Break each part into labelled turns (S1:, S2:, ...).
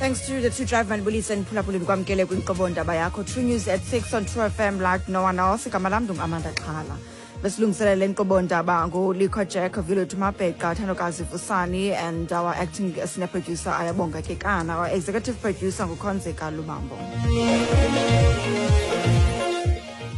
S1: Thanks to the two drive manibulise niphulaphuleni kwamkele kwinkqubo ndaba yakho True News at 6 on True FM like no one else. Igama lam ndinguAmanda Xhala. Besilungiselela le nkqubo ndaba nguLikho Jack, Village Mabheqa, Thandokazi Vusani and our acting senior producer Ayabonga Kekana. Our executive producer nguKhonzeka Lubambo.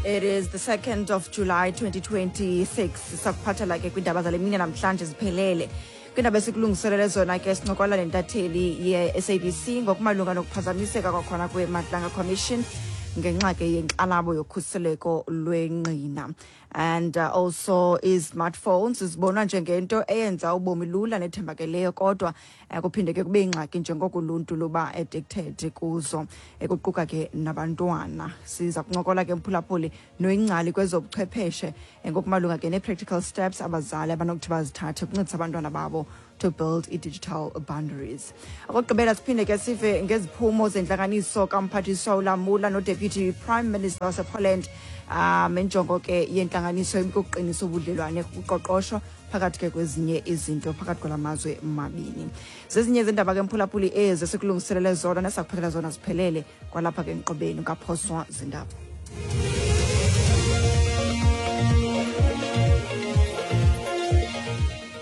S1: It is the 2nd of July 2026. Sakuphathela ke kwiindaba zale mini namhlanje ziphelele. Kwiindaba esikulungiselele zona ke sincokola nentatheli ye-SABC ngokumalunga nokuphazamiseka kwakhona kwe-Madlanga Commission ngenxa ke yenkxalabo yokhuseleko lwengqina. And also i-smartphones zibonwa njengento eyenza ubomi lula nethembakeleyo, kodwa kuphinde ke kube ingxaki njengoko uluntu luba addicted kuzo, ekuquka ke nabantwana. Siza kuncokola ke, mphulaphuli, noyingcali kwezobuchwepheshe ngokumalunga ke nee-practical steps abazali abanokuthi bazithathe ukuncedisa abantwana babo to build i-digital boundaries. Okokugqibela, siphinde ke sive ngeziphumo zentlanganiso kamphathiswa uLamula noDeputy Prime Minister wasePoland. Injongo ke yentlanganiso ibikuqinisa ubudlelwane kuqoqosho, phakathi ke kwezinye izinto, phakathi kwala mazwe mabini. Zezinye zendaba ke, mphulaphuli, ezi esikulungiselele zona nesakuphathela zona ziphelele kwalapha ke enkqubeni. Ungaphoswa zindaba.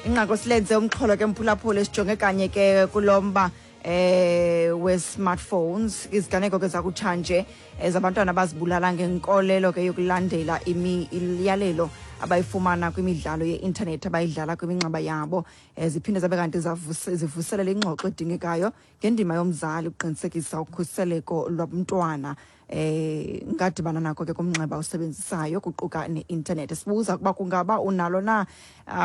S1: Inqaku silenze umxholo ke, mphulaphula, sijonge kanye ke kulo mba we-smartphones, iziganeko ke zakutshanje zabantwana abazibulala ngenkolelo ke yokulandela imiyalelo abayifumana kwimidlalo ye-intanethi abayidlala kwiminxeba yabo. Ziphinde zabe kanti zivuselela ingxoxo edingekayo ngendima yomzali ukuqinisekisa ukhuseleko lwabantwana ngadibana nako ke kumnxeba usebenzisayo, kuquka ne-intanethi. Sibuza ukuba kungaba unalo na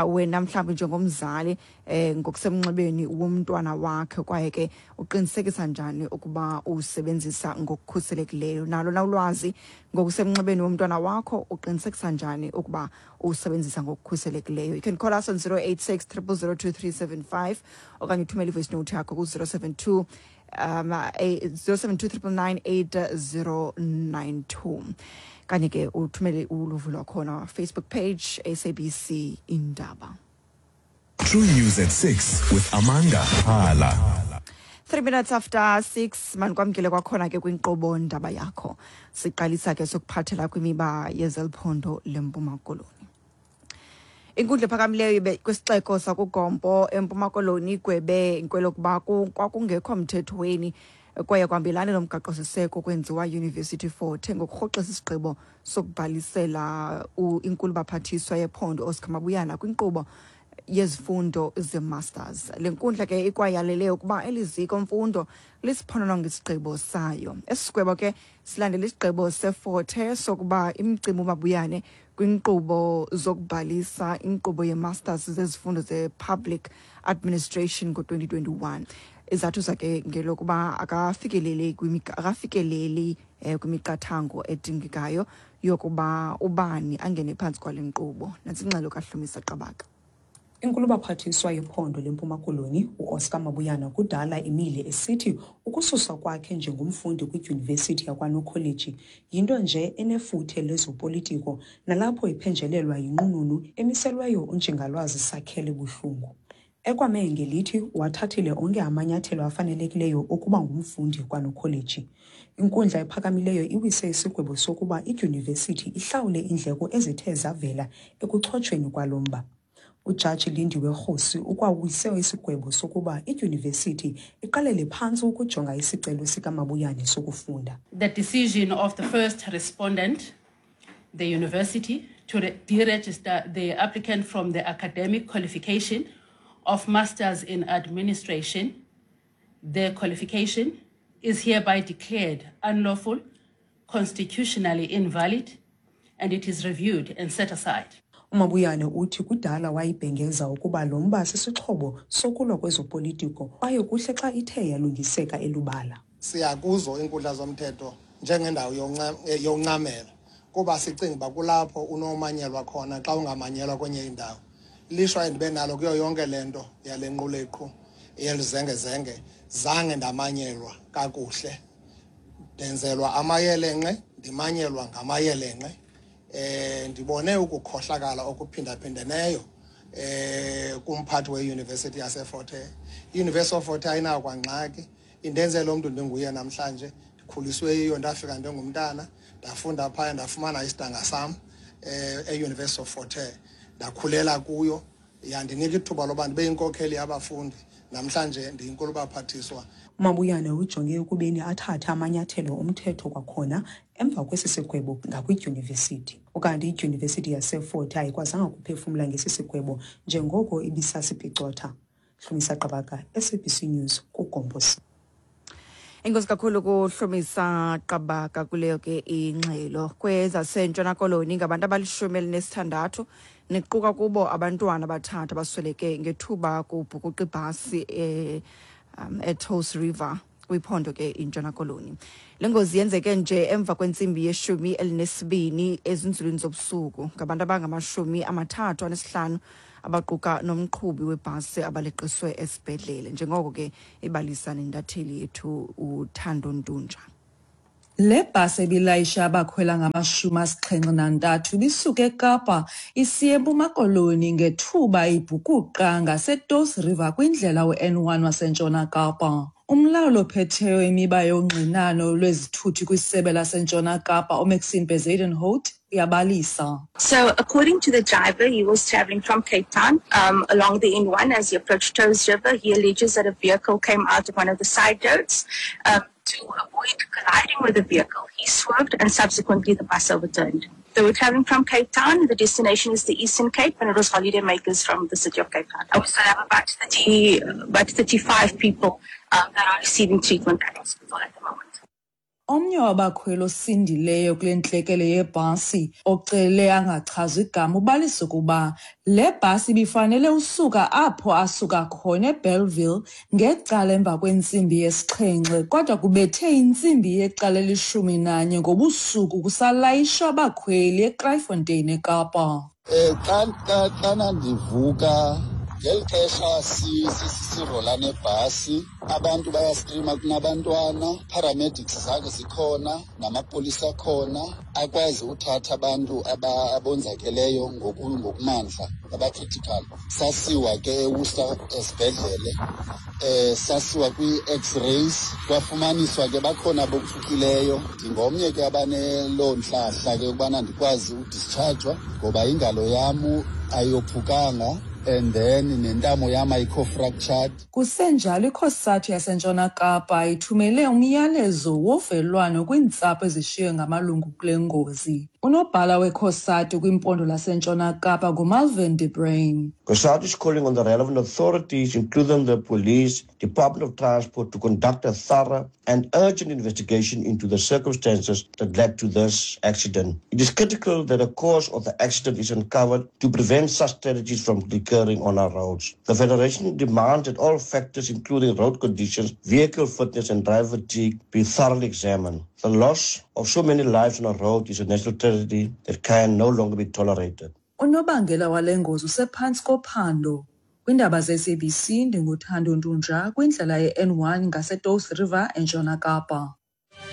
S1: wena mhlawumbi njengomzali ngokusemnxebeni womntwana wakhe, kwaye ke uqinisekisa njani ukuba usebenzisa ngokukhuselekileyo. Nalo na ulwazi ngokusemnxebeni womntwana wakho? Uqinisekisa njani ukuba usebenzisa ngokukhuselekileyo? You can call us on 086 0002375 okanye uthumele ivoice note yakho ku-072 072 999 8092, kanye ke uthumele uluvo lwakhona Facebook page SABC Indaba.
S2: True News at 6 with Amanda Hala.
S1: 3 minutes after 6, manikwamkele kwakhona ke kwinkqubo ndaba yakho. Siqalisa ke sokuphathela kwimiba yezeliphondo leMpuma Koloni. Inkundla ephakamileyo kwisixeko sakuGompo eMpuma Koloni igwebe kwelokuba kwakungekho mthethweni kwaye kwambelane nomgaqo-siseko kwenziwa University Fort ngokurhoxisa isigqibo sokubhalisela inkulu baphathiswa yephondo Oscar Mabuyana kwinkqubo yezifundo ze-masters. Le nkundla ke ikwayalele ukuba eli ziko mfundo lisiphonononge isigqibo sayo. Esi sigwebo ke silandela isigqibo seFort Hare sokuba imcimbi uMabuyane kwinkqubo zokubhalisa inkqubo ye-masters zezifundo ze-public administration ngo-2021. Izathu zakhe ngelokuba akafikeleli kwimiqathango edingekayo yokuba ubani angene phantsi kwale nkqubo. Nantsi ingxelo kaHlumisa Qabaka.
S3: Inkulubaphathiswa yephondo leMpuma Koloni uOscar Mabuyana kudala imile esithi ukususwa kwakhe njengomfundi kwidyunivesithi yakwaNokholeji yinto nje enefuthe lezopolitiko, nalapho iphenjelelwa yinqununu emiselweyo uNjingalwazi Sakhele Buhlungu. Ekwame ngelithi wathathile onke amanyathelo afanelekileyo okuba ngumfundi kwaNokholeji. Inkundla ephakamileyo iwise isigwebo sokuba idyunivesithi ihlawule iindleko ezithe zavela ekuchotshweni kwalo mba. Ujaji Lindiwe Kgosi ukwawise isigwebo sokuba idyunivesithi iqalele phantsi ukujonga isicelo sikaMabuyane sokufunda.
S4: The decision of the first respondent, the university, to deregister the applicant from the academic qualification of Masters in Administration, the qualification is hereby declared unlawful, constitutionally invalid, and it is reviewed and set aside.
S3: UMabuyane uthi kudala wayibhengeza ukuba lo mba sisixhobo sokulwa kwezopolitiko kwaye kuhle xa ithe yalungiseka elubala.
S5: Siya kuzo iinkundla zomthetho njengendawo yoncamela kuba sicinga uba kulapho unomanyelwa khona xa ungamanyelwa kwenye indawo. Lishwa endibe nalo kuyo yonke le nto yale nquleqhu yelizengezenge, zange ndamanyelwa kakuhle, ndenzelwa amayelenqe, ndimanyelwa ngamayelenqe. Ndibone ukukhohlakala okuphindaphindeneyo kumphathi weYunivesithi yaseFort Hare. I-University of Fort Hare ayinawo kwangxaki. Indenze lo mntu ndinguye namhlanje. Ndikhuliswe yiyo, ndafika ndingumntana, ndafunda phaya, ndafumana isidanga sam e-University of Fort Hare. Ndakhulela kuyo, yandinika ithuba loba ndibe yinkokheli yabafundi. Namhlanje ndiyinkulubaphathiswa.
S3: UMabuyane ujonge ekubeni athathe amanyathelo omthetho kwakhona emva kwesi sigwebo ngakwidyunivesithi. Ukanti idyunivesithi yaseFort Hare ayikwazanga kuphefumla ngesi sigwebo njengoko ibisasipicotha. Hlumisa Qabaka, SABC News, kuGompo.
S1: Enkosi kakhulu kuHlumisa Qabaka kuleyo ke ingxelo. KwezaseNtshona Koloni, ngabantu abali-16 nequka kubo abantwana abathathu abasweleke ngethuba kubhukuqa ibhasi eTouws River kwiphondo ke iNtshona Koloni. Le ngozi yenzeke nje emva kwentsimbi ye-12 ezinzulwini zobusuku. Ngabantu abangama-35 abaquka nomqhubi webhasi abaleqiswe esibhedlele, njengoko ke ibalisa nentatheli yethu uThando Ntunja.
S6: Le bhasi ebilayisha abakhwela ngama-73 ibisuka eKapa isiya eMpuma Koloni ngethuba ibhukuqa ngaseTouws River kwindlela u-N1 waseNtshona Kapa. Umlawuli ophetheyo imiba yongxinano lwezithuthi kwisebe laseNtshona Kapa, uMaxine Bezuidenhout, uyabalisa.
S7: So, according to the driver, he was traveling from Cape Town along the N1 as he approached Touws River. He alleges that a vehicle came out of one of the side roads. To avoid colliding with the vehicle, he swerved and subsequently the bus overturned. They were traveling from Cape Town. The destination is the Eastern Cape, and it was holiday makers from the city of Cape Town. We still have about 30, about 35 people that are receiving treatment at hospital at the moment.
S6: Omnye wabakhweli osindileyo kule ntlekele yebhasi ocele angachazwa igama ubalisa ukuba le bhasi ibifanele usuka apho asuka khona eBellville ngecala emva kwentsimbi yesixhenxe, kodwa kubethe intsimbi yecala elishumi nanye ngobusuku kusalayishwa abakhweli eKraaifontein eKapa.
S8: Xa ndivuka ngeli xesha sirola nebhasi, abantu bayastrima, kunabantwana, paramedics zake zikhona namapolisa akhona akwazi uthatha abantu abonzakeleyo ngokumandla, abacritical. Sasiwa ke eWorcester esibhedlele, sasiwa kwii-X-rays, kwafumaniswa ke bakhona abophukileyo. Ndingomnye ke abaneloo ntlahla ke yokubana ndikwazi udischargwa ngoba ingalo yam ayophukanga and then nentamo yam ayikho fractured.
S6: Kusenjalo, iCOSATU yaseNtshona Kapa ithumele umyalezo wovelwano kwiintsapho ezishiywe ngamalungu kule ngozi. Unobhala weCOSATU kwimpondo laseNtshona Kapa nguMalvin de Bruin.
S9: COSATU is calling on the relevant authorities, including the police, Department of Transport, to conduct a thorough and urgent investigation into the circumstances that led to this accident. It is critical that the cause of the accident is uncovered to prevent such tragedies from recurring on our roads. The Federation demands that all factors, including road conditions, vehicle fitness, and driver fatigue, be thoroughly examined. The loss of so many lives on our road is a national tragedy that can no longer be tolerated.
S6: Unobangela wale ngozi usephantsi kophando. Kwiindaba ze-SABC, ndinguThando Ntunja kwindlela ye-N1 ngaseTouws River eNtshona Kapa.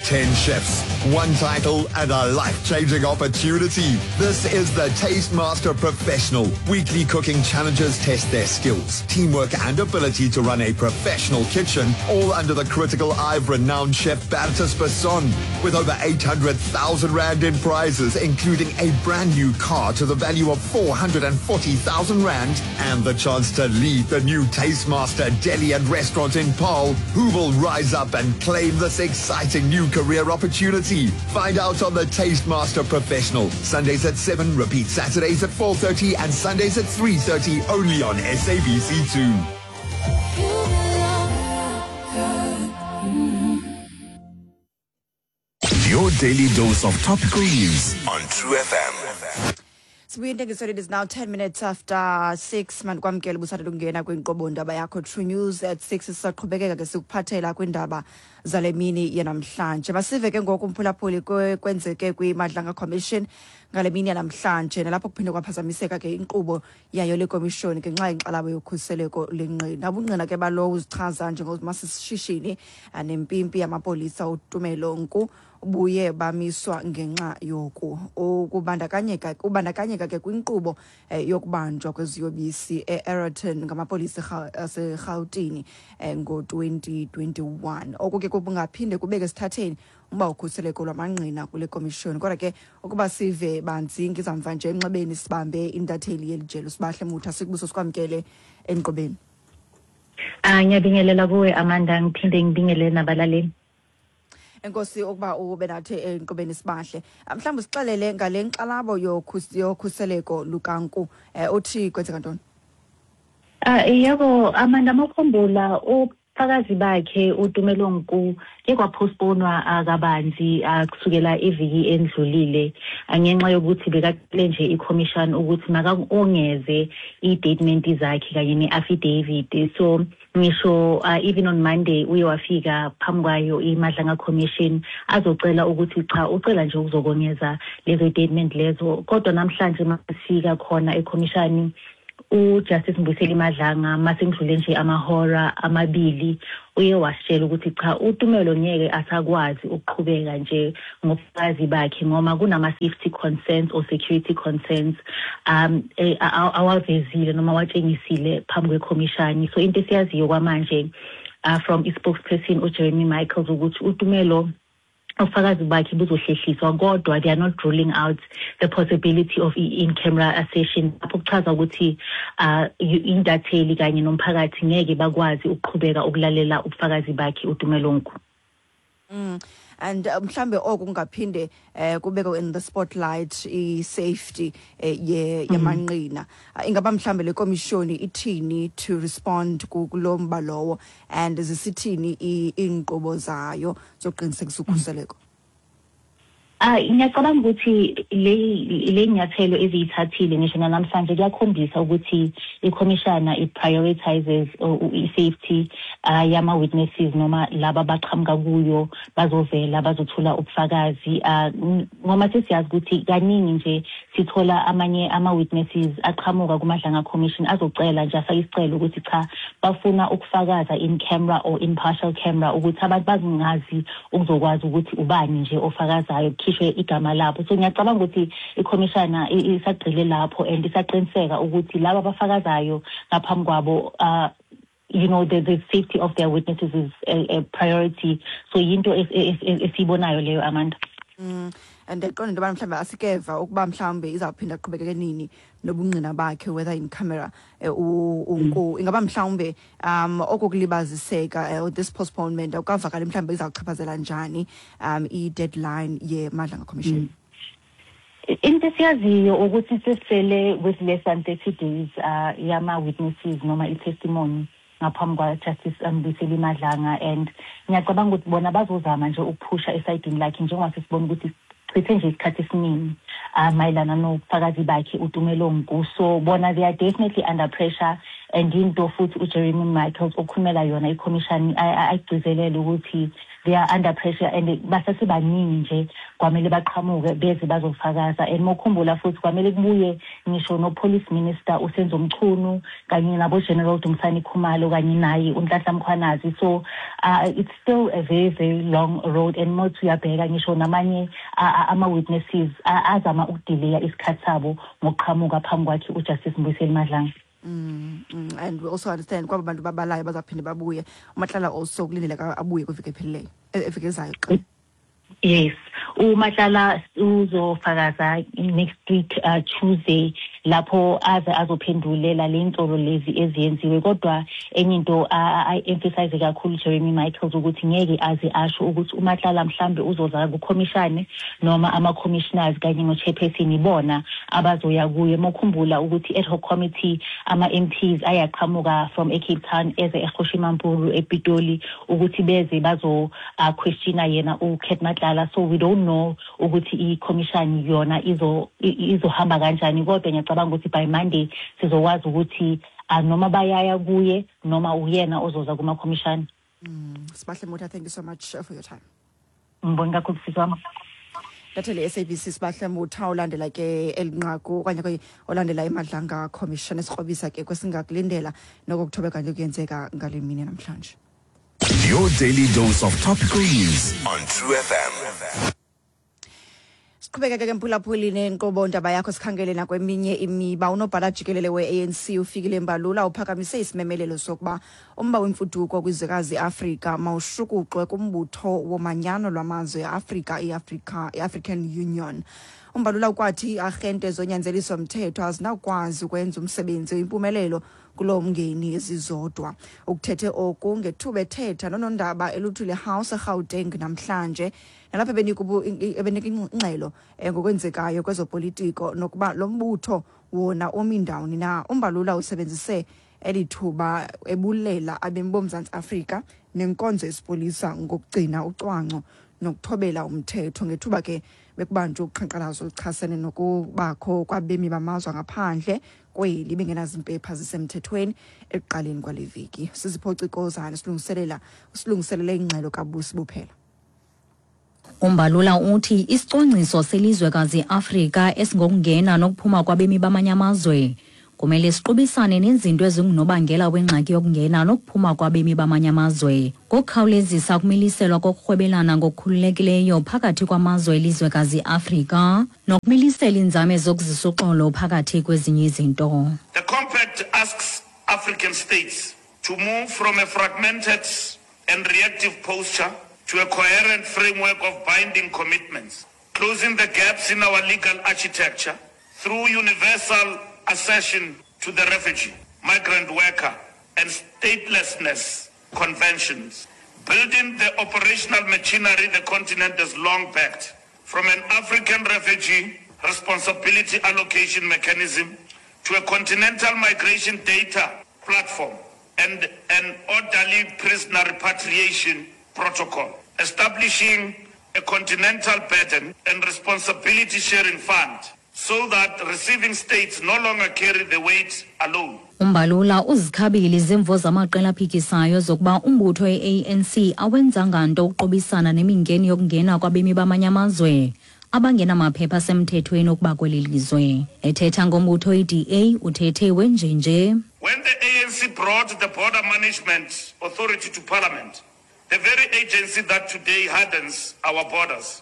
S10: 10 chefs, one title, and a life-changing opportunity. This is the Taste Master Professional. Weekly cooking challenges test their skills, teamwork, and ability to run a professional kitchen, all under the critical eye of renowned chef Bertus Basson. With over 800,000 Rand in prizes, including a brand new car to the value of 440,000 Rand and the chance to lead the new Taste Master Deli and Restaurant in Paarl, who will rise up and claim this exciting new career opportunity? Find out on the Taste Master Professional. Sundays at 7, repeat Saturdays at 4:30 and Sundays at 3:30 only on SABC2.
S2: Your daily dose of topical news on True FM.
S1: Sibuye intengiso. It is now 10 minutes after 6. Mandikwamkele ubusandula ukungena kwinkqubo ndaba yakho True News at 6. Sisaqhubekeka ke sikuphathela kwiindaba zale mini yanamhlanje. Masive ke ngoku, umphulaphuli, kwenzeke kwiMadlanga Commission. Ngale mini yanamhlanje, nalapho kuphinde kwaphazamiseka ke inkqubo yayo le komishoni ngenxa yenkxalabo yokhuseleko lengqina. Ubungqina ke balowo uzichaza njengomasishishini nempimpi yamapolisa uTumelo Nku buye bamiswa ngenxa yoku. Ukubandakanyeka kubandakanyeka ke kwinkqubo yokubanjwa kweziyobisi e-Aeroton ngamapolisa aseRhawutini ngo-2021. Oku ke kungaphinde kubeke esithatheni umba ukhuseleko lwamangqina kule komishoni. Kodwa ke ukuba sive banzi ngizamva nje emnxebeni, sibambe intatheli yeli jelo, Sibahle Mutha. Sikubuso, sikwamkele enkqubeni.
S11: Ah, ngiyabingelela kuwe Amanda, ngiphinde ngibingelele nabalaleli.
S1: Enkosi ukuba ube nathi enkqubeni, Sibahle. Mhlawumbi sixelele ngale nkxalabo yokhuseleko lukaNku, uthi kwenzeka ntoni?
S11: Ah, yebo Amanda, mawukhumbula ubufakazi bakhe uTumelo Nku ke kwapostponwa kabanzi kusukela iviki endlulile ngenxa yokuthi bekacele nje i-commission ukuthi makongeze i-statement zakhe kanye ne-affidavit. So ngisho even on Monday uye wafika phambi kwayo iMadlanga Commission azocela ukuthi cha, ucela nje ukuzokongeza lezo statement lezo. Kodwa namhlanje masifika khona ekhomishani, uJustice Mbuyiseli Madlanga, masengidlule nje amahora 2, uye wasitshela ukuthi cha, uTumelo ngeke asakwazi ukuqhubeka nje ngobufakazi bakhe ngoba kunama-safety concerns or security concerns awavezile noma awatshengisile phambi kwekhomishani. So into esiyaziyo kwamanje from i-spokesperson uJeremy Michaels ukuthi uTumelo ubufakazi bakhe buzohlehliswa, kodwa they are not ruling out the possibility of i-in-camera session, lapho kuchaza ukuthi intatheli kanye nomphakathi ngeke bakwazi ukuqhubeka ukulalela ubufakazi bakhe uTumelo Nku.
S1: And mhlambe oku kungaphinde kubekwe in the spotlight i-safety ye yamanqina. Ingaba mhlambe le komishoni ithini to respond kulo mba lowo, and zisithini iinkqubo zayo zokuqinisekisa ukhuseleko?
S11: Ah, ngiyacabanga ukuthi le nyathelo eziyithathile ngisho namhlanje kuyakhombisa ukuthi ikhomishana it prioritizes i-safety yama witnesses noma laba abaqhamuka kuyo bazovela bazothula ubufakazi, ngoba sesiyazi ukuthi kaningi nje sithola amanye ama witnesses aqhamuka kuMadlanga Commission azocela nje, afake isicelo ukuthi cha, bafuna ukufakaza in camera or in partial camera, ukuthi abantu bazingazi ukuzokwazi ukuthi ubani nje ofakazayo, kukhishwe igama labo. So ngiyacabanga ukuthi ikhomishana isagxile lapho and isaqiniseka ukuthi laba abafakazayo ngaphambi kwabo, the safety of their witnesses is a priority. So yinto esiyibonayo leyo, Amanda.
S1: And ndiyayiqonda into yobana mhlawumbi asikeva ukuba mhlawumbi izawuphinda aqhubekeke nini nobungqina bakhe, whether in camera uNku. Ingaba mhlawumbe oku kulibaziseka, this postponement, awukavakali mhlawumbi izawuchaphazela njani i-deadline yeMadlanga Commission?
S11: Into esiyaziyo ukuthi sesisele with less than 30 days yama-witnesses noma i-testimony ngaphambi kwa-Justice Mbuyiseli Madlanga, and ngiyacabanga ukuthi bona bazozama nje ukuphusha esayidini lakhe, njengoba sesibona ukuthi chithe nje isikhathi esiningi mayelana nobufakazi bakhe uTumelo Nku. So bona they are definitely under pressure, and into futhi uJeremy Michaels okhulumela yona i-commission ayigcizelele ukuthi they are under pressure and basasebaningi nje kwamele baqhamuke beze bazofakaza. And mokhumbula futhi kwamele kubuye ngisho no-police minister uSenzo Mchunu kanye nabo-General Dumisani Khumalo kanye naye uNhlanhla Mkhwanazi. So it's still a very, very long road, and mothi uyabheka ngisho namanye ama-witnesses azama ukudileya isikhathi sabo ngokuqhamuka phambi kwakhe uJustice Mbuyiseli Madlanga.
S1: And we also understand kwaba bantu babalayo bazawuphinde babuye. UMatlala also kulindeleka abuye kwiveki ephelileyo, eveki ezayo xa.
S11: Yes, uMatlala uzofakaza next week Tuesday, lapho aze azophendulela le nsolo lezi eziyenziwe. Kodwa enye into ay-emphasize kakhulu Jeremy Michaels ukuthi ngeke aze asho ukuthi uMatlala mhlambe uzoza kukhomishane noma ama-commissioners kanye no-chairperson ibona abazoya kuye. Mokhumbula ukuthi ad hoc committee, ama-MPs ayaqhamuka from eCape Town eze eKgosi Mampuru ePitoli ukuthi beze bazo questiona yena uCat Matlala. So we don't know ukuthi i-commission yona izohamba kanjani, kodwa ngiyacabanga ukuthi by Monday sizokwazi ukuthi noma bayaya kuye noma uyena ozoza kuma-commission.
S1: Sibahle Motha, thank you so much for your time.
S11: Ngibonga kakhulu, sisi wami.
S1: Intatheli ye-SABC Sibahle Mutha olandela ke eli nqaku okanye ke olandela iMadlanga Commission esikrobisa ke kwesingakulindela noko kuthobeka nje kuyenzeka ngale mini namhlanje.
S2: Your daily dose of topical news on True FM.
S1: Siqhubekeke ke mphulaphuli nenkqubo ndaba yakho, sikhangele nakweminye imiba. Unobhala jikelele we-ANC uFikile Mbalula uphakamise isimemelelo sokuba umba wemfuduko kwizwekazi iAfrika mawushukuxwe kumbutho womanyano lwamazwe eAfrika, i-African Union. UMbalula ukwathi iiarhente zonyanzeliso mthetho azinakwazi ukwenza umsebenzi oyimpumelelo kulo mngeni zizodwa. Ukuthethe oku ngethuba ethetha nonondaba eLuthuli House eGauteng namhlanje, nalapho ebenika ingxelo ngokwenzekayo kwezopolitiko nokuba lo mbutho wona umi ndawoni na. UMbalula usebenzise eli thuba ebulela abemi boMzantsi Afrika nenkonzo yesipolisa ngokugcina ucwangco nokuthobela umthetho ngethuba ke bekubanjwe uqhankqalazo oluchasene nokubakho kwabemi bamazwe angaphandle kweli bengenazimpepha zisemthethweni ekuqaleni kwale veki. Sizipho Cikozane silungiselele ingxelo kaBusi Buphela.
S12: UMbalula uthi isicwangciso selizwekazi iAfrika esingokungena nokuphuma kwabemi bamanye amazwe kumele siqubisane nezinto ezingunobangela wengxaki yokungena nokuphuma kwabemi bamanye amazwe ngokukhawulezisa ukumiliselwa kokurhwebelana ngokukhululekileyo phakathi kwamazwe elizwekazi iAfrika nokumilisela iinzame zokuzisa uxolo phakathi kwezinye izinto.
S13: The compact asks African states to move from a fragmented and reactive posture to a coherent framework of binding commitments, closing the gaps in our legal architecture through universal accession to the refugee, migrant worker, and statelessness conventions, building the operational machinery the continent has long backed, from an African refugee responsibility allocation mechanism to a continental migration data platform and an orderly prisoner repatriation protocol, establishing a continental burden and responsibility sharing fund so that receiving states no longer carry the weight alone.
S12: UMbalula uzikhabile izimvo zamaqela aphikisayo zokuba umbutho we-ANC awenzanga nto ukuqubisana nemingeni yokungena kwabemi bamanye amazwe abangenamaphepha asemthethweni okuba kweli lizwe. Ethetha ngombutho i-DA uthethe wenjenje.
S13: When the ANC brought the Border Management Authority to Parliament, the very agency that today hardens our borders,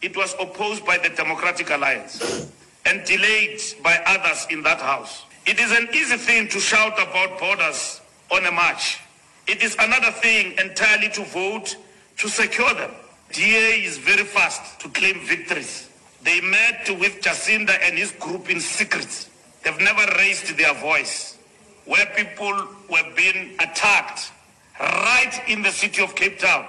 S13: it was opposed by the Democratic Alliance and delayed by others in that house. It is an easy thing to shout about borders on a march. It is another thing entirely to vote to secure them. DA is very fast to claim victories. They met with Jacinda and his group in secret. They've never raised their voice. Where people were being attacked right in the city of Cape Town.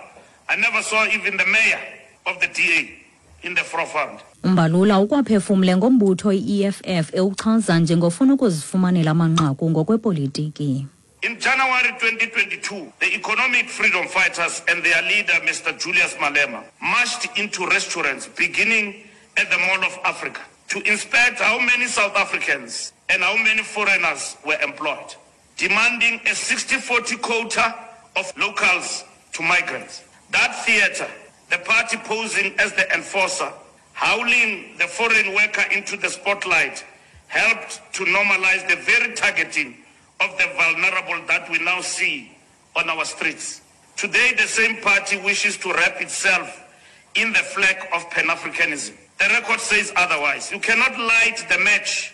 S13: I never saw even the mayor of the DA in the forefront.
S12: UMbalula ukwaphefumle ngombutho i-EFF ewuchaza njengofuna ukuzifumanela amanqaku ngokwepolitiki.
S13: In January 2022, the Economic Freedom Fighters and their leader, Mr. Julius Malema, marched into restaurants beginning at the Mall of Africa to inspect how many South Africans and how many foreigners were employed, demanding a 60-40 quota of locals to migrants. That theater, the party posing as the enforcer, howling the foreign worker into the spotlight, helped to normalize the very targeting of the vulnerable that we now see on our streets. Today, the same party wishes to wrap itself in the flag of Pan-Africanism. The record says otherwise. You cannot light the match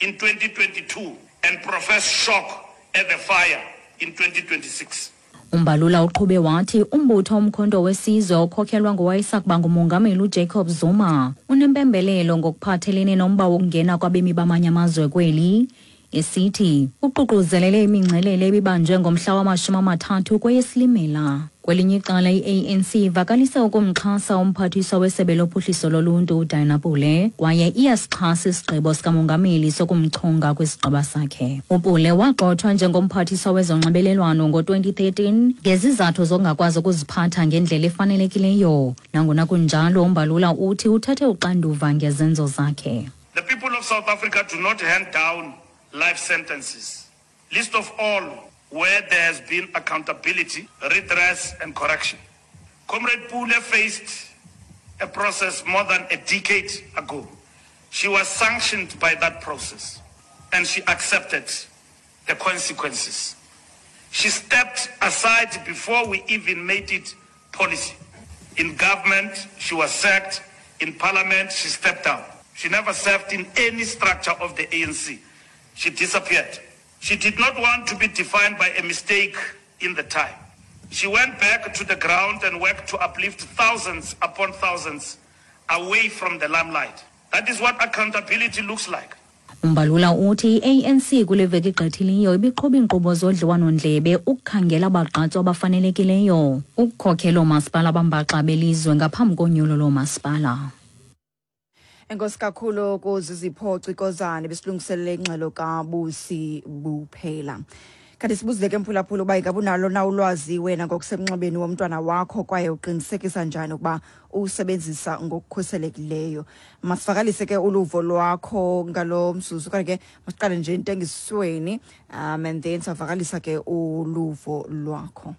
S13: in 2022 and profess shock at the fire in 2026.
S12: UMbalula uqhube wathi umbutho Umkhonto weSizwe okhokhelwa ngowayesakuba ngumongameli uJacob Zuma unempembelelo ngokuphathelene nomba wokungena kwabemi bamanye amazwe kweli, esithi uququzelele imingcelele ebibanjwe ngomhla wama-30 kweyeSilimela. Kwelinye icala i-ANC ivakalise ukumxhasa umphathiswa wesebe lophuhliso loluntu uDina Pule kwaye iyasixhasa isigqibo sikamongameli sokumchonga kwisigqeba sakhe. UPule wagxothwa njengomphathiswa wezonxibelelwano ngo-2013 ngezizathu zokungakwazi ukuziphatha ngendlela efanelekileyo. Nangona kunjalo, uMbalula uthi uthathe uxanduva ngezenzo zakhe.
S13: The people of South Africa do not hand down life sentences. Least of all, where there has been accountability, redress and correction. Comrade Pule faced a process more than a decade ago. She was sanctioned by that process and she accepted the consequences. She stepped aside before we even made it policy. In government, she was sacked. In parliament, she stepped down. She never served in any structure of the ANC. She disappeared. She did not want to be defined by a mistake in the time. She went back to the ground and worked to uplift thousands upon thousands away from the limelight. That is what accountability looks like.
S12: Umbalula uthi i-ANC kule veki igqithileyo ibiqhuba iinkqubo zodliwano-ndlebe ukukhangela abagqatswa abafanelekileyo ukukhokhela oomasipala abambaxa belizwe ngaphambi konyulo loomasipala.
S1: Enkosi kakhulu kuZizipho Cikozane besilungiselele ingxelo kaBusi Buphela. Kanti sibuzile ke mphulaphula uba ingaba unalo na ulwazi wena ngokusemnxebeni womntwana wakho kwaye uqinisekisa njani ukuba uwusebenzisa ngokukhuselekileyo. Masivakalise ke uluvo lwakho ngalo mzuzu, okanye ke masiqale nje intengisweni and then savakalisa ke uluvo lwakho.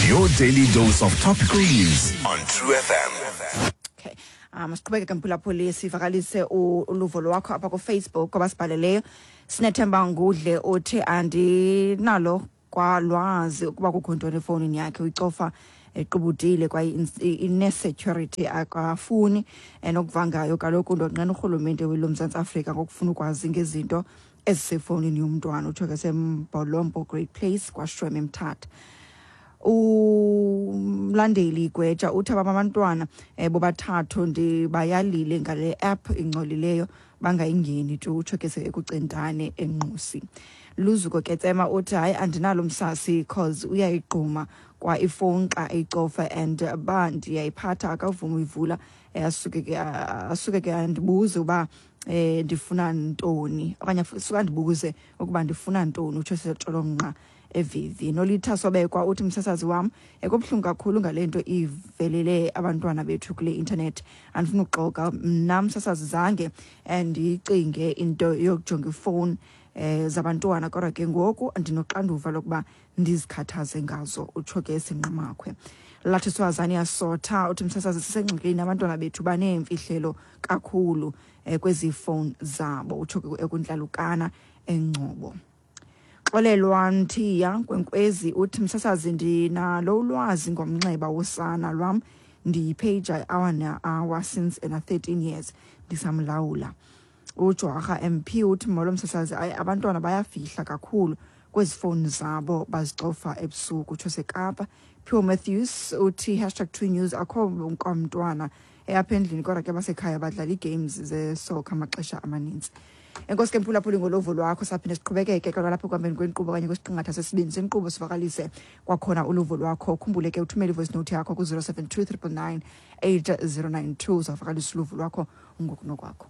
S2: Your daily dose of topical news on True FM.
S1: Okay. Siqhubeke ke mphulaphuli sivakalise uluvo lwakho apha kuFacebook abasibhaleleyo. Sinethemba Ngudle uthi andinalo kwalwazi ukuba kukho ntoni efowunini yakhe, uyicofa equbudile kwaye ine-security akafuni nokuva ngayo. Kaloku ndonqena urhulumente weli loMzantsi Afrika ngokufuna ukwazi ngezinto ezisefowunini yomntwana. Utsho ke seMbolompo Great Place kwaShweme eMthatha. Umlandeli Gweja uthi abam abantwana bobathathu ndibayalile ngale app ingcolileyo bangayingeni tu, utsho ke ekucentane eNqusi. Luzuko Ketsema uthi hayi andinalo msasi cause uyayigquma kwa ifowuni xa eyicofa and ba ndiyayiphatha akavumi uyivula, asuke ke andibuze uba ndifuna ntoni okanye suka andibuze ukuba ndifuna ntoni, utsho setsholomnqa evivi. Nolitha Sobekwa uthi msasazi wam ekubuhlungu kakhulu ngale nto ivelele abantwana bethu kule internet. Andifuna ukuxoka mna msasazi zange ndiyicinge into yokujonga ifowuni zabantwana, kodwa ke ngoku ndinoxanduva lokuba ndizikhathaze ngazo, utsho ke Sinqamakhwe. Lathi Swazane Yasotha uthi msasazi sisengxakini, abantwana bethu baneemfihlelo kakhulu kwezi fowuni zabo, utsho ke ekuntlalukana eNgcobo. Xolelwa Nthiya Nkwenkwezi uthi msasazi ndinalo ulwazi ngomnxeba wosana lwam, ndiyipheja hour na-hour since ena 13 years ndisamlawula. UJwarha MP uthi molo msasazi, hayi abantwana bayafihla kakhulu kwezi fowuni zabo bazicofa ebusuku, utsho seKapa. Pure Matthews uthi hashtag True News akho kwamntwana apha endlini, kodwa ke basekhaya badlala ii-games zesokha amaxesha amanintsi. Enkosi ke mphulaphuli ngolovo lwakho, saphinde siqhubekeke ke kwalapha ekuhambeni kwenkqubo okanye kwisiqingatha sesibini senkqubo sivakalise kwakhona uluvo lwakho. Ukhumbule ke uthumele i-voice note yakho ku-072 999 8092, uzawuvakalisa uluvo lwakho ngokunokwakho.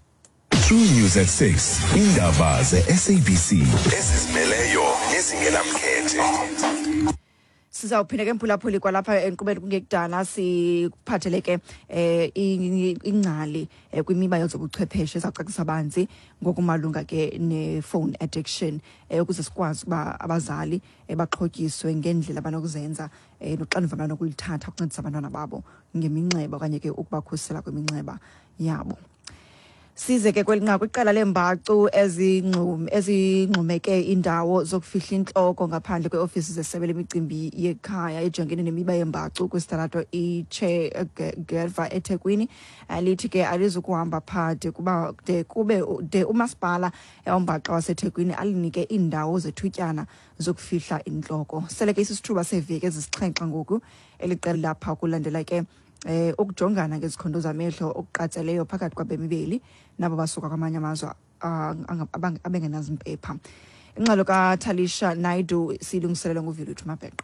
S2: True News at 6. Indaba ze-SABC ezizimeleyo nezingenamkhethe.
S1: Sizawuphinda ke mphulaphuli kwalapha enkqubeni kungekudala sikuphathele ke ingcali kwimiba yezobuchwepheshe ezawucacisa banzi ngokumalunga ke ne-phone addiction, ukuze sikwazi ukuba abazali baxhotyiswe ngendlela abanokuzenza noxanduva abanokulithatha ukuncedisa abantwana babo ngeminxeba okanye ke ukubakhusela kwiminxeba yabo. Size ke kweli nqaku, iqela leembacu ezingxumeke indawo zokufihla intloko ngaphandle kweofisi zesebe lemicimbi yekhaya ejongene nemiba yembacu kwisitalato iChe Guevara eThekwini, lithi ke alizukuhamba phaa de kuba de kube de umasipala ombaxa waseThekwini alinike iindawo zethutyana zokufihla intloko. Sele ke isisithuba seeveki ezisixhenxe ngoku eli qela lapha kulandela ke ukujongana ngezikhondo zamehlo okuqatseleyo phakathi kwabemi beli nabo basuka kwamanye amazwe abengenazimpepha. Ingxelo kaTalisha Naidu siyilungiselelwe nguViluthu Mabheqe.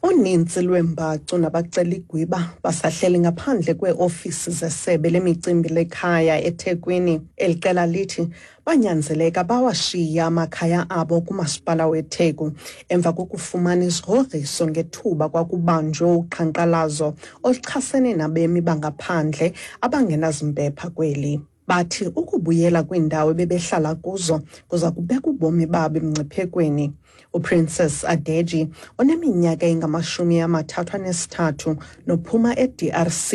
S14: Uninzi lweembacu nabaceligwiba basahleli ngaphandle kweeofisi zesebe lemicimbi lekhaya eThekwini. Eli qela lithi banyanzeleka bawashiya amakhaya abo kumasipala weTheku emva kokufumana izigrogriso ngethuba kwakubanjwe uqhankqalazo oluchasene nabemi bangaphandle abangenazimpepha kweli. Bathi ukubuyela kwiindawo ebebehlala kuzo kuza kubeka ubomi babo emngciphekweni. UPrincess Adeji oneminyaka engama-33 nophuma e-DRC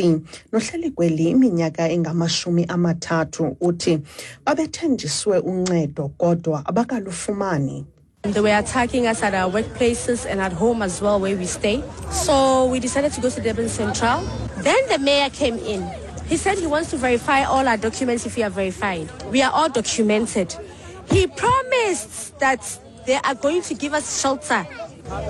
S14: nohleli kweli iminyaka engama-30 uthi babethenjiswe uncedo kodwa abakalufumani.
S15: They were attacking us at our workplaces and at home as well where we stay. So we decided to go to Durban Central. Then the mayor came in. He said he wants to verify all our documents if we are verified. We are all documented. He promised that they are going to give us shelter.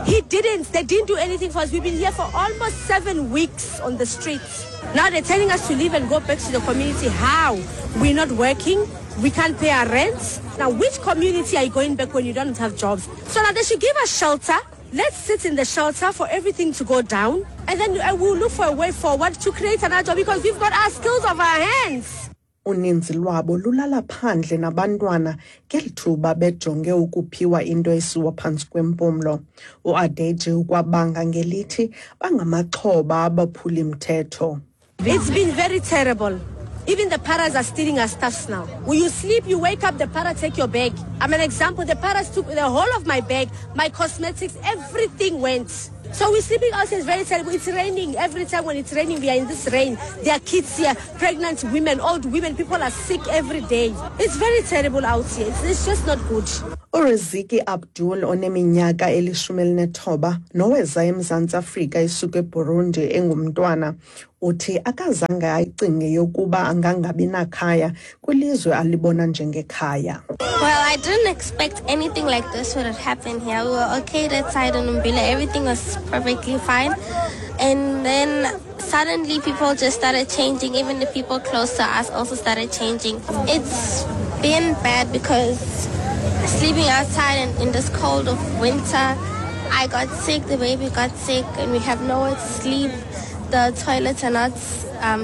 S15: He didn't. They didn't do anything for us. We've been here for almost 7 weeks on the streets. Now they're telling us to leave and go back to the community. How? We're not working. We can't pay our rents. Now, which community are you going back when you don't have jobs? So now they should give us shelter. Let's sit in the shelter for everything to go down. And then we'll look for a way forward to create another job because we've got our skills of our hands.
S14: Uninzi lwabo lulala phandle nabantwana ngeli thuba bejonge ukuphiwa into esiwa phantsi kwempumlo. UAdeji ukwabanga ngelithi bangamaxhoba abaphuli-mthetho.
S15: It's been very terrible. Even the paras are stealing our stuffs now. When you sleep, you wake up, the para take your bag. I'm an example. The paras took the whole of my bag, my cosmetics, everything went. So we're sleeping out here, it's very terrible. It's raining. Every time when it's raining, we are in this rain. There are kids here, pregnant women, old women. People are sick every day. It's very terrible out here. It's just not good.
S14: URiziki Abdul oneminyaka eli-19 noweza eMzantsi Afrika esuka eBurundi engumntwana uthi akazange ayicinge yokuba angangabi nakhaya kwilizwe alibona njengekhaya.
S16: Well, I didn't expect anything like this would have happened here. We were okay that side in Umbila. Everything was perfectly fine. And then suddenly people just started changing. Even the people close to us also started changing. It's been bad because sleeping outside and in this cold of winter, I got sick, the baby got sick, and we have nowhere to sleep. The toilets are not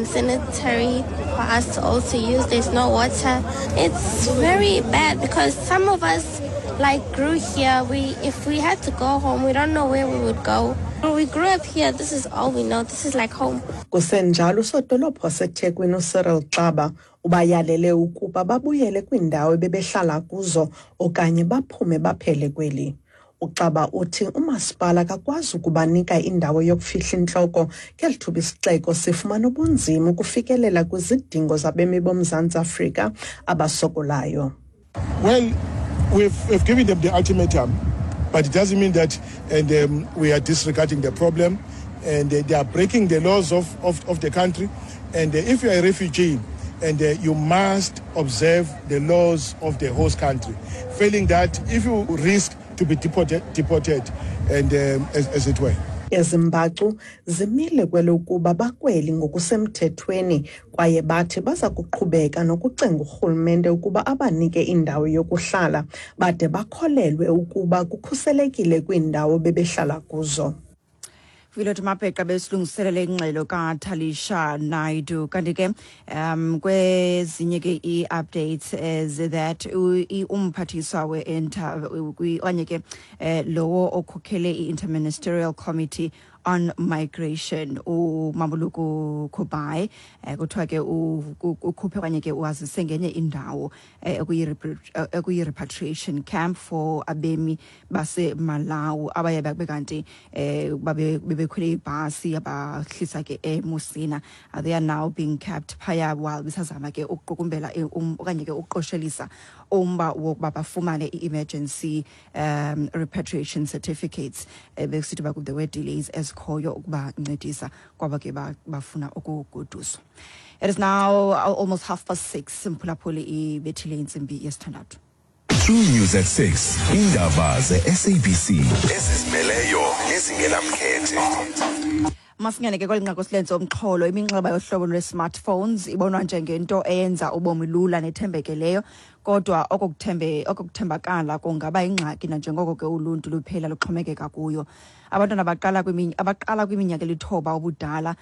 S16: sanitary for us to also use. There's no water. It's very bad because some of us grew here. If we had to go home, we don't know where we would go. We grew up here. This is all we know. This is like home.
S14: Kusenjalo usodolophu waseThekwini uCyril Xaba ubayalele ukuba babuyele kwiindawo ebebehlala kuzo okanye baphume baphele kweli. uXaba uthi umasipala akakwazi ukubanika indawo yokufihla intloko ngeli thuba isixeko sifumana ubunzima ukufikelela kwizidingo zabemi boMzantsi Afrika abasokolayo.
S17: Well, we've given them the ultimatum, but it doesn't mean that we are disregarding the problem, and they are breaking the laws of the country. And if you are a refugee, and you must observe the laws of the host country. Failing that, if you risk to be deported and as it were.
S14: Ezimbacu zimile kwelokuba bakweli ngokusemthethweni kwaye bathi baza kuqhubeka nokucenga urhulumente ukuba abanike indawo yokuhlala bade bakholelwe ukuba kukhuselekile kwiindawo bebehlala kuzo.
S1: Villot Mabheqa besilungiselele ingxelo kaTalisha Naidu. Kanti ke kwezinye ke i-updates is that umphathiswa okanye ke lowo okhokhele i-Interministerial Committee on Migration uMamoloko Kubayi kuthiwa ke ukhuphe okanye ke wazise ngenye indawo ekuyi-repatriation camp for abemi baseMalawi abaye babe kanti bebekhwele ibhasi abahlisa ke eMusina. They are now being kept phaya while besazama ke ukuqukumbela okanye ke ukuqoshelisa umba wokuba bafumane i-emergency repatriation certificates. Bekusithi uba there were delays ezikhoyo ukubancedisa kwaba ke bafuna ukugoduswa. It is now almost 6:30. Mphulaphuli, ibethile intsimbi yesithandathu.
S2: True News at 6. Indaba ze-SABC ezizimeleyo nezingenamkhethe.
S1: Masingene ke kweli nqaku silenze umxholo. Iminxeba yohlobo lwe-smartphones ibonwa njengento eyenza ubomi lula nethembekeleyo, kodwa okukuthembakala kungaba ingxaki nanjengoko ke uluntu luphela luxhomekeka kuyo. Abantwana abaqala kwiminyaka elithoba ubudala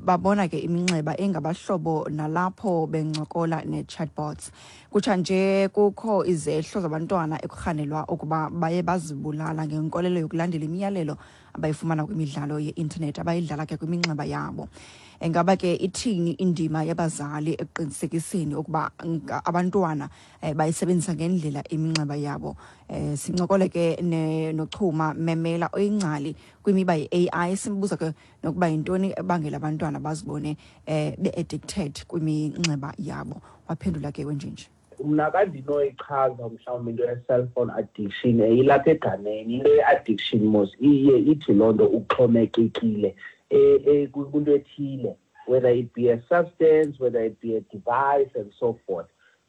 S1: babona ke iminxeba engabahlobo nalapho bencokola ne-chatbots. Kutsha nje kukho izehlo zabantwana ekurhanelwa ukuba baye bazibulala ngenkolelo yokulandela imiyalelo abayifumana kwimidlalo ye-intanethi abayidlala ke kwiminxeba yabo. Ingaba ke ithini indima yabazali ekuqinisekiseni ukuba abantwana Bayisebenzisa ngendlela iminxeba yabo. Sincokole ke noChuma Memela oyingcali kwimiba ye-AI, simbuza ke nokuba yintoni ebangela abantwana bazibone be-addicted kwiminxeba yabo. Waphendula ke wenjenje.
S18: Mna kandinoyichaza mhlawumbi into ye-cellphone addiction, ilapha egameni. Into ye-addiction mos iye ithi loo nto uxhomekekile kwinto ethile, whether it be a substance, whether it be a device and so forth.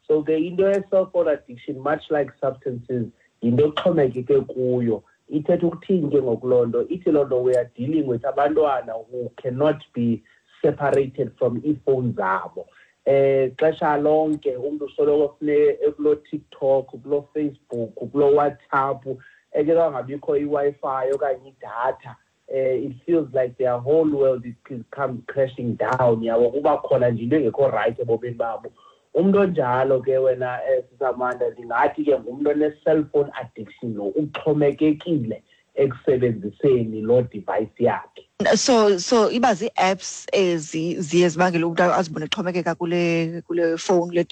S18: So ke into ye-cellphone addiction, much like substances, yinto exhomekeke kuyo. Ithetha ukuthini ke ngoku loo nto? Ithi loo nto we are dealing with abantwana who cannot be separated from iifowuni zabo. Xesha lonke umuntu usoloko funeke ekulo TikTok, kulo Facebook, kulo WhatsApp, eke kangabikho iWi-Fi okanye idatha, it feels like their whole world is come crashing down, yabo. Kuba khona nje into engekho right ebomini babo. Umuntu onjalo ke wena, Sisamanda, ndingathi ke ngumntu one-cellphone addiction lo, uxhomekekile ekusebenziseni loo device yakhe.
S1: So iba zii-apps ezi ziye zibangele umntu azibone exhomekeka kule phone, kule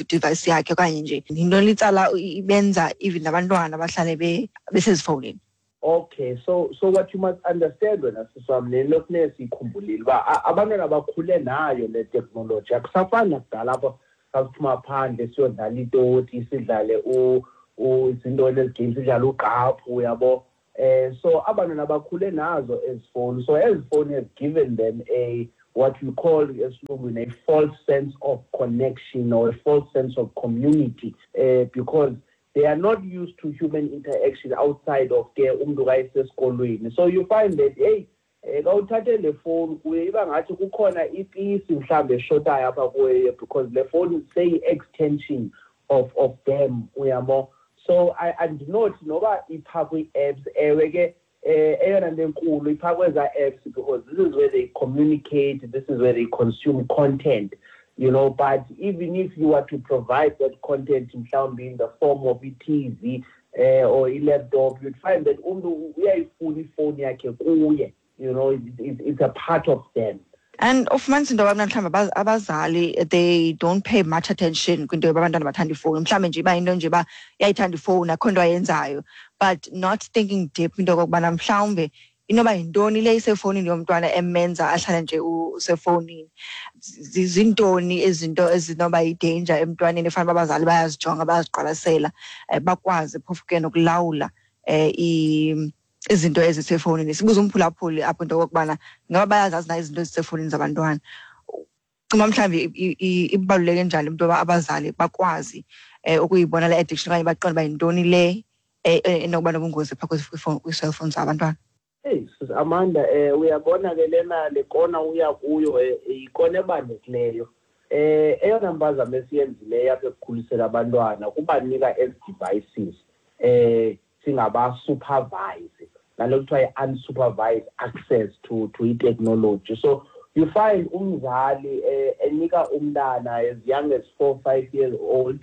S1: device yakhe, okanye nje yinto litsala ibenza even nabantwana bahlale besezifowunini?
S18: Okay, so what you must understand wena siswam, le nto kufuneka siyikhumbulile uba abantwana bakhule nayo le teknoloji. Akusafani nakudala apho sasiphuma phandle siyodlala itoti, sidlale izintoni ezi games, sidlale ugqaphu, uyabo. So abantwana bakhule nazo ezi fowuni. So ezi fowuni has given them a what we call esilungwini a false sense of connection or a false sense of community, because they are not used to human interaction outside of ke umntu kayisesikolweni. So you find that, hey, xa uthathe le fowuni kuye iba ngathi kukhona ipisi mhlawumbi eshotayo apha kuye, because le fowuni seyi-extension of them, uyabo. So andinothi noba ipha kwii-apps, ewe ke, eyona nto enkulu ipha kwezaa apps, because this is where they communicate, this is where they consume content, but even if you were to provide that content mhlawumbi in the form of i-TV or i-laptop, you'd find that umntu uyayifuna ifowuni yakhe kuye, it's a part of them.
S1: And ufumanisa into yobana mhlawumbi abazali, they don't pay much attention kwinto yoba abantwana bathanda ifowuni. Mhlawumbi nje iba yinto nje uba uyayithanda ifowuni, akho nto ayenzayo, but not thinking deep into yokokubana mhlawumbi inoba yintoni le isefowunini yomntwana emenza ahlale nje usefowunini. Zintoni izinto ezinoba yi-danger emntwaneni efanele uba abazali bayazijonga, bayaziqwalasela, bakwazi phofu ke nokulawula izinto ezisefowunini. Sibuza umphulaphuli apho into yokokubana ingaba bayazazi na izinto ezisefowunini zabantwana. Cima mhlawumbi ibaluleke njani into yoba abazali bakwazi ukuyibona le addiction okanye baqonde uba yintoni le enokuba nobungozi phaa kwii-cellphones zabantwana?
S18: Hey, Sis Amanda, uyabona ke lena le kona uya kuyo, yikona ebalulekileyo. Eyona mpazamo esiyenzileyo apha ekukhuliseni abantwana kubanika ezi devices, singaba-supervise, nalo kuthiwa yi-unsupervised access to i-technology. So you find umzali enika umntana as young as 4, 5 years old,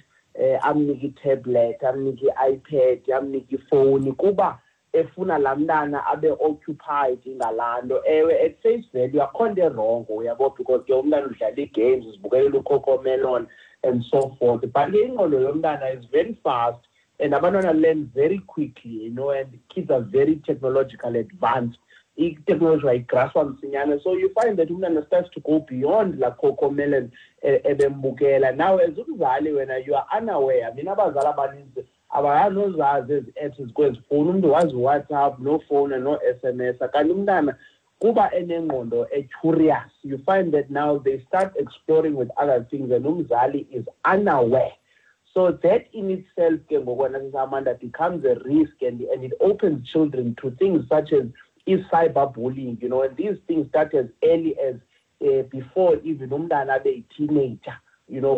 S18: amnike i-tablet, amnike i-iPad, amnike ifowuni, kuba efuna laa mntana abe occupied ngalaa nto. Ewe, at face value akho nto erongo, uyabo, because ke umntana udlala ii-games, uzibukelela uCocomelon and so forth. But ke ingqondo yomntana is very fast, and abantwana learn very quickly, and kids are very technologically advanced. I-technology bayigraspa msinyane. So you find that umntana starts to go beyond la Cocomelon ebembukela. Now, as umzali wena, you are unaware. Mina abazali abaninzi abanozazi ezi apps zikwezi fowuni. Umntu wazi WhatsApp, no phone, no SMS. Kanti umntana kuba enengqondo e-curious, you find that now they start exploring with other things and umzali is unaware. So that in itself, ke ngoku wena Amanda, becomes a risk, and it opens children to things such as cyberbullying, and these things start as early as before even umntana abe yi-teenager,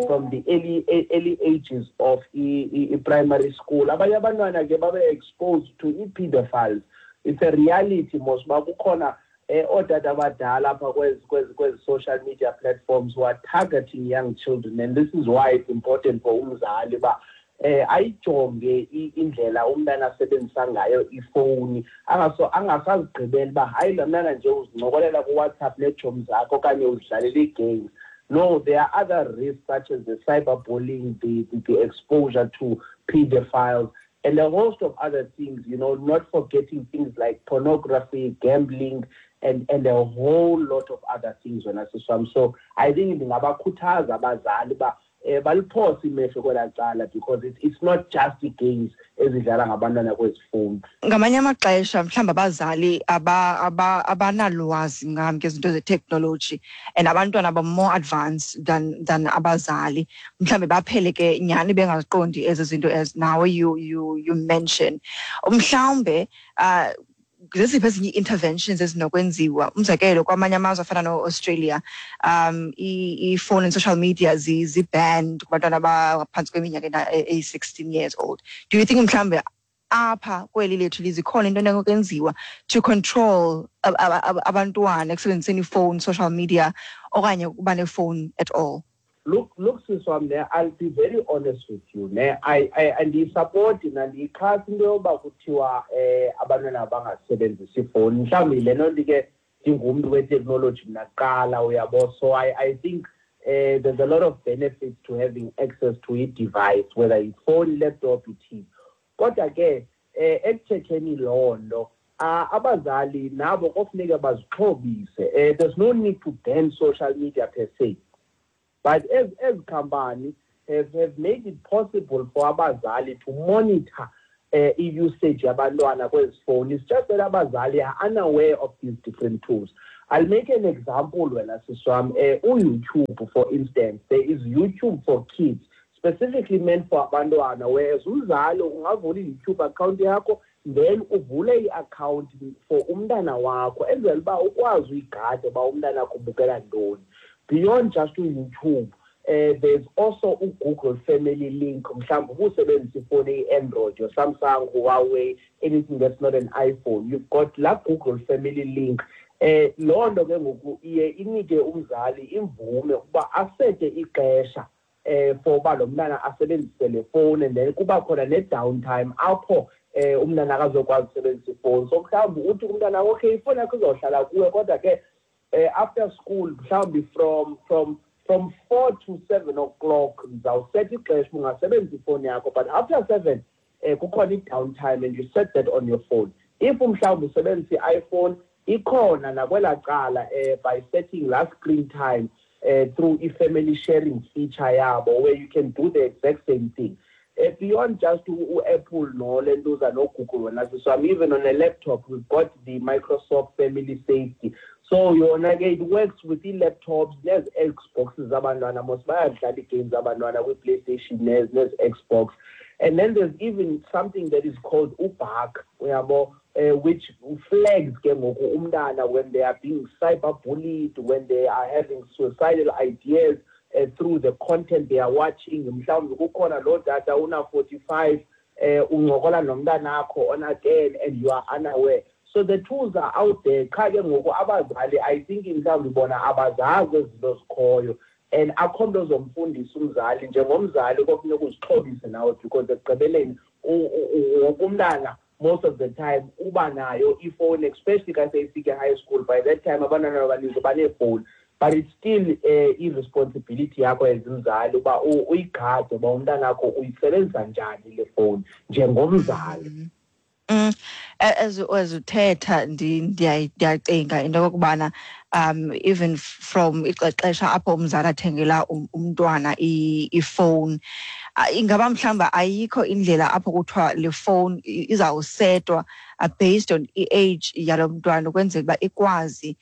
S18: from the early ages of primary school. Abanye abantwana ke babe exposed to i-pedophiles. It's a reality, mos uba kukhona ootata abadala apha kwezi social media platforms who are targeting young children, and this is why it's important for umzali uba ayijonge indlela umntana asebenzisa ngayo ifowuni, angasazigqibeli uba hayi lo mntana nje uzincokolela kuWhatsApp neetshomi zakhe okanye uzidlalela ii-games. No, there are other risks such as the cyberbullying, the exposure to pedophiles, and a host of other things, not forgetting things like pornography, gambling, and a whole lot of other things. Wena sisi wam. So I think ndingabakhuthaza abazali uba baliphose imehlo kwelaa cala, because it's not just the games ezidlala ngabantwana kwezi fowuni.
S1: Ngamanye amaxesha mhlawumbi abazali abanalwazi ngam ngezinto zeteknoloji, and abantwana ba more advanced than abazali. Mhlawumbi baphele ke nyhani bengaziqondi ezi zinto as nawe you mention. Mhlawumbe zeziphi ezinye ii-interventions ezinokwenziwa? Umzekelo, kwamanye amazwe afana no-Australia, i-phone and social media zi-banned kubantwana abaphantsi kweminyaka eyi-16 years old. Do you think mhlawumbe apha kweli lethu lizikhona into enokwenziwa to control abantwana ekusebenziseni ifowuni, social media, okanye ukuba nefowuni at all?
S18: Look, sisi wam, ne, I'll be very honest with you, ne. Andiyisapoti nandiyixhasi into yoba kuthiwa abantwana bangasebenzisi ifowuni. Mhlawumbi le nto ke ndingumntu weteknoloji mna kuqala, uyabo. So I think there's a lot of benefits to having access to a device, whether it's phone, laptop, i-TV. Kodwa ke ekuthetheni loo nto, abazali nabo kofuneka bazixhobise. There's no need to ban social media per se. But as company have made it possible for abazali to monitor i-usage yabantwana kwezi phone. It's just that abazali are unaware of these different tools. I'll make an example wena sisi wam. U-YouTube, for instance, there is YouTube for kids, specifically meant for abantwana, whereas umzali ungavula i-YouTube account yakho, then uvule i-account for umntana wakho, enzela uba ukwazi uyigada uba umntana wakho ubukela ntoni. Beyond just YouTube, there's also Google Family Link. Mhlawumbi ubusebenzisa ifowuni eyi-Android, your Samsung, Huawei, anything that's not an iPhone. You've got la Google Family Link. Loo nto ke ngoku iye inike umzali imvume ukuba asete ixesha for uba lo mntana asebenzise le fowuni, and then kuba khona ne-downtime apho umntana akazokwazi usebenzisa ifowuni. So mhlawumbi uthi kumntana, okay, ifowuni yakho izawuhlala kuwe, kodwa ke after school mhlawumbi from 4 to 7 o'clock ndizawusetha ixesha ungasebenzisa ifowuni yakho, but after 7 kukhona i-downtime and you set that on your phone. If mhlawumbi usebenzisa i-iPhone, ikhona nakwelaa cala by setting la screen time through i-family sharing feature yabo, where you can do the exact same thing. Beyond just u-Apple no lentuza no Google wena sisi wam, even on a laptop we've got the Microsoft Family Safety. So yona ke it works with ii-laptops nezi-Xboxes zabantwana, mos bayadlala ii-games zabantwana kwi-PlayStation nezi-Xbox. And then there's even something that is called uBark, uyabo, which flags ke ngoku umntana when they are being cyberbullied, when they are having suicidal ideas through the content they are watching. Mhlawumbi kukhona loo tata una 45, uncokola nomntanakho ona 10 and you are unaware. So the tools are out there. Qha ke ngoku abazali, I think mhlawumbi bona abazazi ezi zinto zikhoyo. And akho nto zomfundisa umzali, njengomzali kofuneka uzixhobise nawe, because ekugqibeleni wonke umntana most of the time uba nayo ifowuni, especially xa seyifike high school. By that time abantwana abaninzi baneefowuni, but it's still i-responsibility yakho as umzali uba uyigade uba umntana wakho uyisebenzisa njani le fowuni njengomzali.
S1: As uthetha, ndiyacinga into yokokubana even from ixesha apho umzali athengela umntwana ifowuni, ingaba mhlawumbi ayikho indlela apho kuthiwa le fowuni izawusetwa based on i-age yalo mntwana, ukwenzela uba ikwazi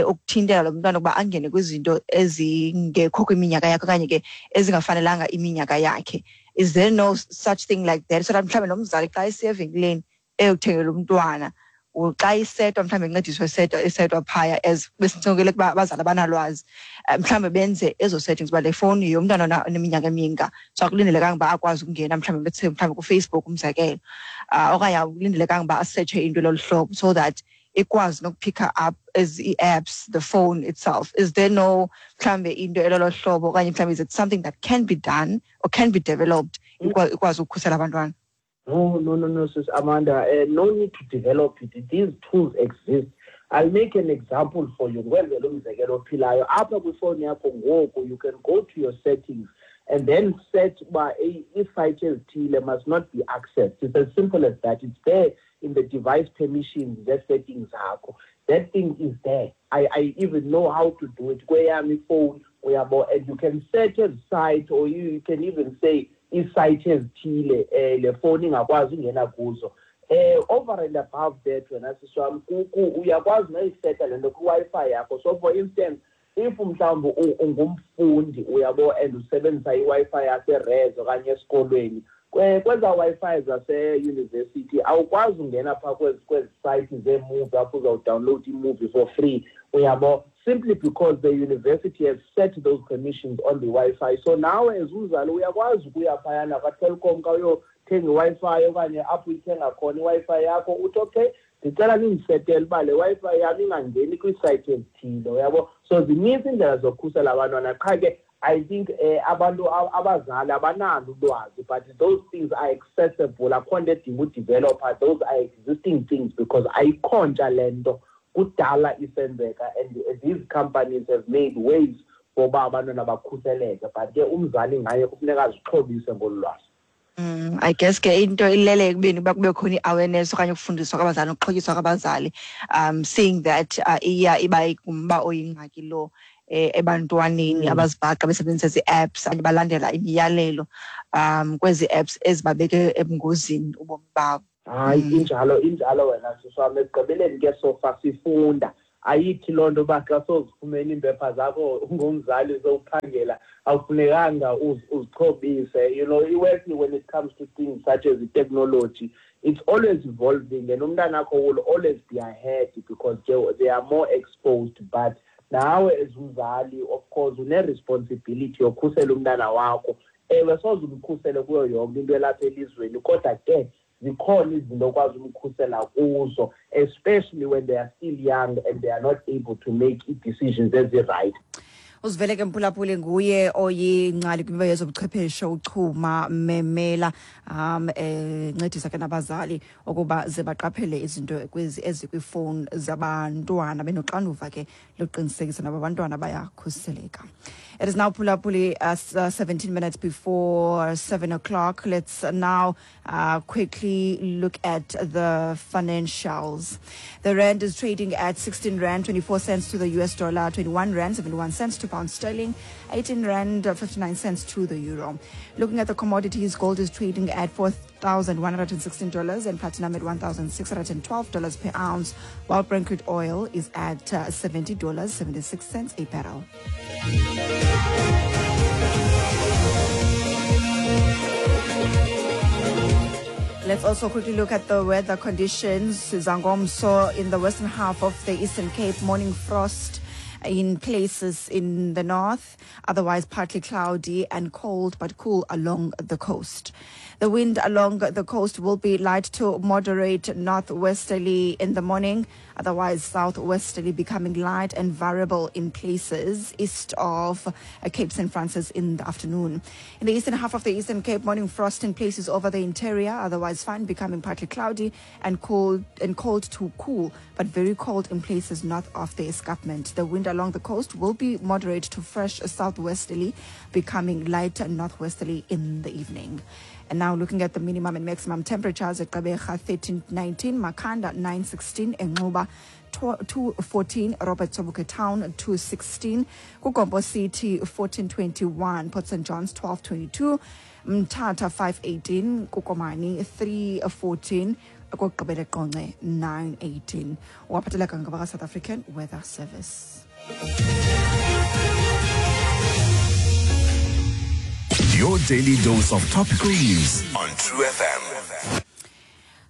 S1: ukuthintela lo mntwana ukuba angene kwizinto ezingekho kwiminyaka yakhe okanye ke ezingafanelanga iminyaka yakhe. Is there no such thing like that? So that mhlawumbi nomzali xa esiya evenkileni eyokuthengela umntwana, xa isetwa mhlawumbi incediswe isetwa phaya, as besincokele ukuba abazali abanalwazi, mhlawumbi benze ezo settings uba le fowuni yomntwana oneminyaka eminga, so akulindelekanga uba akwazi ukungena mhlawumbi bethe mhlawumbi kuFacebook umzekelo, okanye akulindelekanga uba asetshe into lolu hlobo, so that ikwazi nokuphicka up as i-apps, the phone itself. Is there no mhlawumbi into elolo hlobo, okanye mhlawumbi is it something that can be done or can be developed ikwazi ukukhusela abantwana?
S18: No, no, no, no, Sis Amanda, no need to develop it. These tools exist. I'll make an example for you. Ndikwenzele umzekelo ophilayo. Apha kwifowuni yakho ngoku, you can go to your settings and then set uba ii-sites ezithile must not be accessed. It's as simple as that. It's there in the device permissions zee-settings zakho. That thing is there. I even know how to do it kweyam ifowuni, uyabo. And you can set ezi site, or you can even say ii-site ezithile le fowuni ingakwazi ungena kuzo. Over and above that, wena sisi wam, uyakwazi noyiseta le nto kwiWi-Fi yakho. So for instance, if mhlawumbi ungumfundi, uyabo, and usebenzisa iWi-Fi yaseres okanye esikolweni, kwezaa Wi-Fi zaseyunivesithi awukwazi ungena phaa kwezi site zeemuvi apho uzawudownload imovie for free, uyabo, simply because the university has set those permissions on the Wi-Fi. So nawe as umzali uyakwazi ukuya phayana kwaTelkom ka uyothenga iWi-Fi okanye apho uyithenga khona iWi-Fi yakho, uthi okay, ndicela nindisetele uba le Wi-Fi yam ingangeni kwiisayithi ezithile, uyabo. So zininzi iindlela zokukhusela abantwana, qha ke I think abantu abazali abanalo ulwazi, but those things are accessible. Akho nto edinga udeveloper, those are existing things because ayikho ntsha le nto, kudala isenzeka, and these companies have made ways for uba abantwana bakhuseleke, but ke umzali ngaye kufuneka azixhobise ngolu lwazi.
S1: I guess ke into ilele ekubeni uba kube khona i-awareness okanye ukufundiswa kwabazali nokuxhotyiswa kwabazali, seeing that iya iba ngumba oyingxaki lo ebantwaneni abazibhaqa besebenzisa ezi apps okanye balandela imiyalelo kwezi apps ezibabeke ebungozini ubomi babo.
S18: Hayi, injalo wena sisi wam. Ekugqibeleni ke sofa sifunda, ayithi loo nto uba xa sowuzifumene iimpepha zakho ungumzali sowuphangela awufunekanga uzixhobise. Iwesi when it comes to things such as technology, it's always evolving, and umntanakho will always be ahead because they are more exposed. But nawe as umzali, of course, une-responsibility yokhusela umntana wakho. Ewe, soze umkhusele kuyo yonke into elapha elizweni, kodwa ke zikhona izinto okwazi umkhusela kuzo, especially when they are still young and they are not able to make ii-decisions ezi-right.
S1: Uzivele ke mphulaphuli, nguye oyingcali kwimiba yezobuchwepheshe uChuma Memela, encedisa ke nabazali ukuba ze baqaphele izinto kwezi ezikwifowuni zabantwana benoxanduva ke lokuqinisekisa nabo abantwana bayakhuseleka. It is now, phulaphuli, 17 minutes before 7 o'clock. Let's now quickly look at the financials. The rand is trading at 16 rand 24 cents to the US dollar, 21 rand 71 cents to pound sterling, 18 rand 59 cents to the euro. Looking at the commodities, gold is trading at $4,116 and platinum at $1,612 per ounce, while Brent crude oil is at $70.76 a barrel. Let's also quickly look at the weather conditions. Zangomso in the western half of the Eastern Cape, morning frost in places in the north, otherwise partly cloudy and cold but cool along the coast. The wind along the coast will be light to moderate northwesterly in the morning, otherwise southwesterly becoming light and variable in places east of Cape St. Francis in the afternoon. In the eastern half of the Eastern Cape, morning frost in places over the interior, otherwise fine, becoming partly cloudy and cold to cool, but very cold in places north of the escarpment. The wind along the coast will be moderate to fresh southwesterly, becoming light northwesterly in the evening. And now looking at the minimum and maximum temperatures at Gqeberha 13.19, Makhanda 9.16, Enxuba 2.14, Robert Sobukwe Town 2.16, KuGompo City 14.21, Port St. John's 12.22, Mthatha 5.18, kuKomani 3.14, okokugqibela eQonce 9.18. Waphatheleka ngabaka-South African Weather Service.
S2: Your daily dose of topical news on True FM.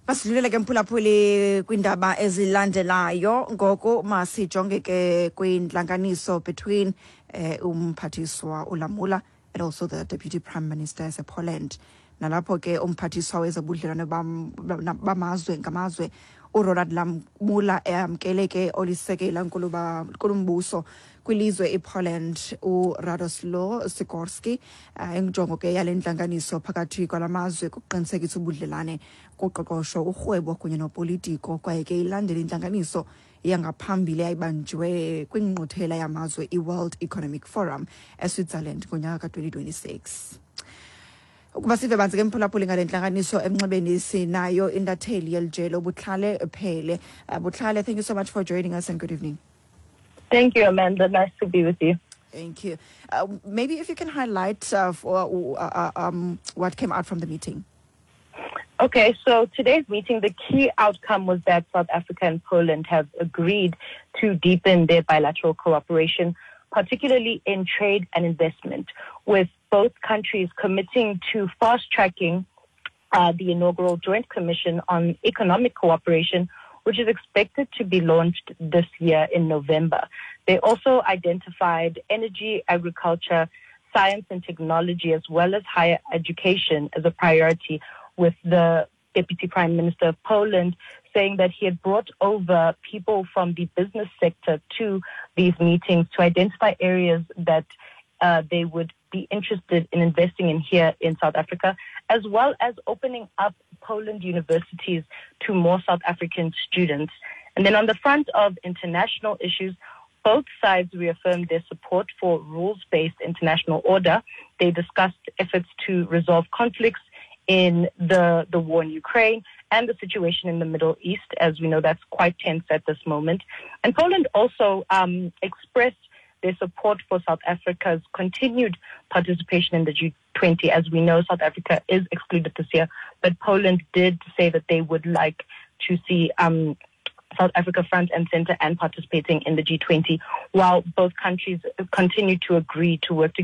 S1: Masidlulele ke mphulaphuli kwiindaba ezilandelayo. Ngoku masijonge ke kwintlanganiso between umphathiswa uLamula and also the deputy prime minister yasePoland, nalapho ke umphathiswa wezobudlelwane bamazwe ngamazwe uRonald Lamola eyamkele ke olisekela nkulumbuso kwilizwe iPoland uRadoslaw Sikorski. Injongo ke yale ntlanganiso phakathi kwalamazwe kukuqinisekisa ubudlelane kuqoqosho, urhwebo kunye nopolitiko, kwaye ke ilandela intlanganiso yangaphambili eyayibanjwe kwingqungquthela yamazwe iWorld Economic Forum eSwitzerland ngonyaka ka-2026. Ukuba sive banzi ke, mphulaphuli, ngale ntlanganiso, emnxebeni sinayo intatheli yelijelo Butlhale Phele. Butlhale, thank you so much for joining us and good evening.
S19: Thank you, Amanda. Nice to be with you.
S1: Thank you. Maybe if you can highlight for what came out from the meeting.
S19: Okay, so today's meeting, the key outcome was that South Africa and Poland have agreed to deepen their bilateral cooperation, particularly in trade and investment, with both countries committing to fast tracking the inaugural Joint Commission on Economic Cooperation, which is expected to be launched this year in November. They also identified energy, agriculture, science and technology, as well as higher education as a priority, with the Deputy Prime Minister of Poland saying that he had brought over people from the business sector to these meetings to identify areas that they would be interested in investing in here in South Africa, as well as opening up Poland universities to more South African students. And then on the front of international issues, both sides reaffirmed their support for rules based international order. They discussed efforts to resolve conflicts in the war in Ukraine and the situation in the Middle East. As we know, that's quite tense at this moment. And Poland also expressed their support for South Africa's continued participation in the G20. As we know, South Africa is excluded this year, but Poland did say that they would like to see South Africa front and center and participating in the G20, while both countries continue to agree to work together.